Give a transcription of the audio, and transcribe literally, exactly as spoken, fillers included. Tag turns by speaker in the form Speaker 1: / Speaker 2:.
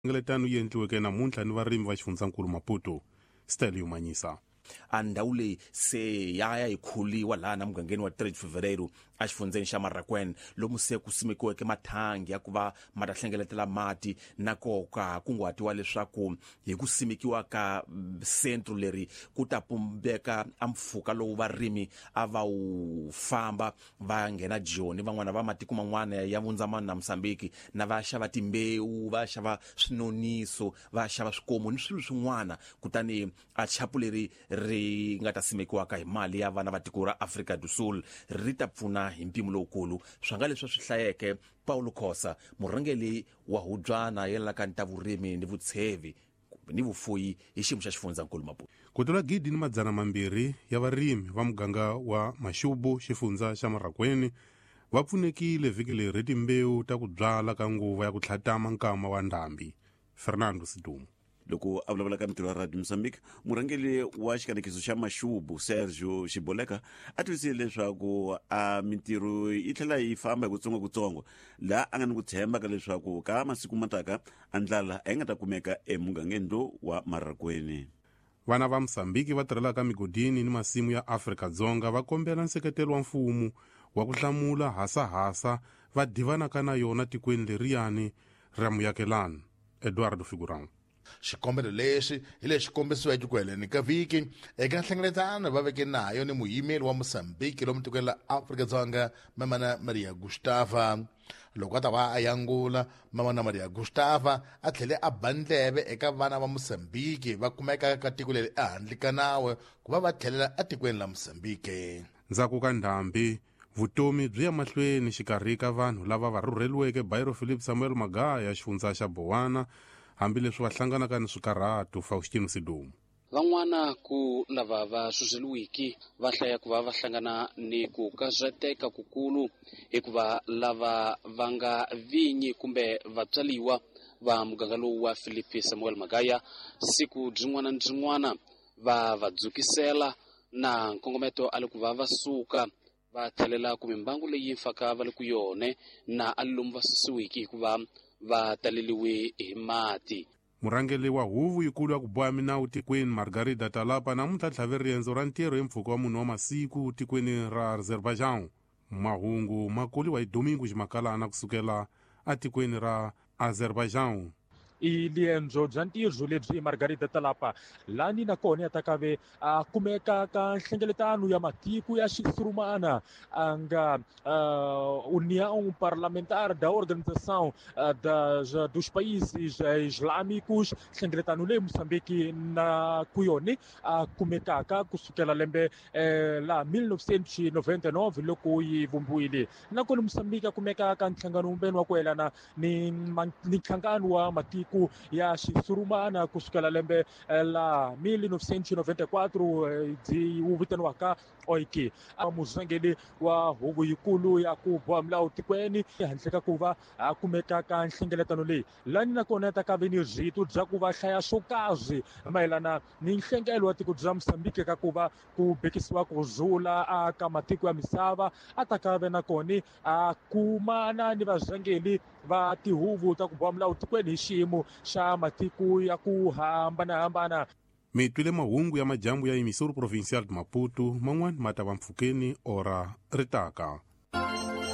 Speaker 1: Nhlengeletano yi endliweke namuntlha ni varimi va xifundzankulu Maputo. Stelio Manyisa.
Speaker 2: A ndhawu leyi se ya ya yi khuliwa laha na mugangeni wa três de Fevereiro exifundzeni xa Marracuene, lomu se ku simekiweke mathangi ya ku va ma ta hlengeletela mati na koka kunguhatiwa leswaku hi ku simekiwa ka sentro leri ku ta pumbeka a mpfhuka lowu varimi a va wu famba va nghena Joni, van'wana va matiko man'wana ya Vundzamani na Mosambiki, na va xava timbewu, va xava swinoniso, va xava swikomu ni swilo swin'wana. Kutani a chapu leri ri nga ta simekiwaka hi mali ya vana va tiko ra Afrika do Sul ri ta pfuna hi mpimo lowukulu. Swa nga leswi swi hlayeke Paulo Khosa, murhangeri wa hubyana yelanaka ni ta vurimi ni vutshevi ni vufuyi hi xiyimo xa xifundzankulu Maputo.
Speaker 1: Ku tlula gidi ni madzana mambirhi ya varimi va muganga wa Maxubu, xifundza xa Marracuene, va pfunekile vhiki leri hi timbewu ta ku byala ka nguva ya ku tlhatama nkama wa ndhambi. Fernando Sidumo.
Speaker 3: Loko a vulavula ka mintirho ya Radio Mozambique, murhangeri wa xikanekiso xa Maxubu Sergio Xiboleka a tivisile leswaku a mintirho yi tlhela yi famba hi kutsongokutsongo, laha a nga ni ku tshemba ka leswaku ka masiku mataka a ndlala a yi nga ta kumeka emugangeni lowu wa Marracuene.
Speaker 1: Vana va Mosambiki va tirhelaka migodini ni masimu ya Afrika-Dzonga va kombela nseketelo wa mfumo wa ku hlamula hasahasa va divanaka na yona tikweni leriyani ra muyakelani. Eduardo Figurão.
Speaker 4: Xikombelo lexi hi lexi kombisiweke ku heleni ka vhiki eka nhlengeletano va veke nayo ni muyimeri wa Mosambiki lomu tikweni la Afrika-Dzonga Mamana Maria Gustava. Loko a ta va a yangula, Mamana Maria Gustava a tlhele a ba ndleve eka vana va Mosambiki va kumekaka ka tiko leri ehandle ka nawu ku va va tlhelela etikweni la Mosambiki.
Speaker 1: Ndzhaku ka ndhambi, vutomi byi ya mahlweni xikarhi ka vanhu lava va rhurheliweke Bairro Philip Samuel Magaya, xifundza xa Bowana, hambileswi va hlanganaka ni swikarhato. Faustino Sidumo.
Speaker 5: Van'wana ku lava va suseliwiki va hlaya ku va va hlangana ni ku kazateka kukulu hikuva lava va nga vinyi kumbe vatswaliwa va muganga lowu wa Philip Samuel Magaya siku byin'wana ni byin'wana va va dzukisela na nkongometo a le ku va va suka va tlhelela ku mimbangu leyi faka va le ku yone na a lomu va susiwiki hikuva va taleliwe hi mati.
Speaker 1: Murhangeri wa huvo yikulu ya ku boha minawu tikweni Margarida Talapa namuntlha tlhave riendzo ra ntirho hi mpfhuka wa munhu wa masiku tikweni ra Azerbaijan. Mahungu ma koliwa hi Domingo Ximakalana kusukela atikweni ra Azerbaijan.
Speaker 6: I liendzo bya ntirho lebyi Margarida Talapa lani na kona ya ta kave a kumeka ka nhlengeletano ya matiko ya xisurumana a nga uh, União Parlamentar da Organização uh, das, dos Países Islâmicos, nhlengeletano leyi Moçambique na kuyoni a kumekaka kusukela lembe eh, la mil novecentos e noventa e nove loko yi vumbiwile. Nakona Moçambique a kumeka ka nhlangano wumbeni wa ku yelana ni, ni nhlangano wa matiko ya xisurumana kusukela lembe la mil novecentos e noventa e quatro byi wu vitaniwaka O I K. Murhangeri wa huvo yikulu ya ku boha milawu tikweni handle ka ku va a kumeka ka nhlengeletano leyi lani nakona ta ka ve ni rito bya ku va hlaya swo karhi mayelana ni nhlengelo wa tiko bya Mosambiki ka ku va ku bekisiwa ku rhula a ka matiko ya misava a ta ka ve nakona a kumana ni varhangeri va tihuvo ta ku boha milawu tikweni hi xiyimo xa matiko ya ku hambanahambana.
Speaker 1: Mi twile mahungu ya majambu ya Emissora Provincial de Maputo, man'wana ma ta va mpfhukeni ora ri taka.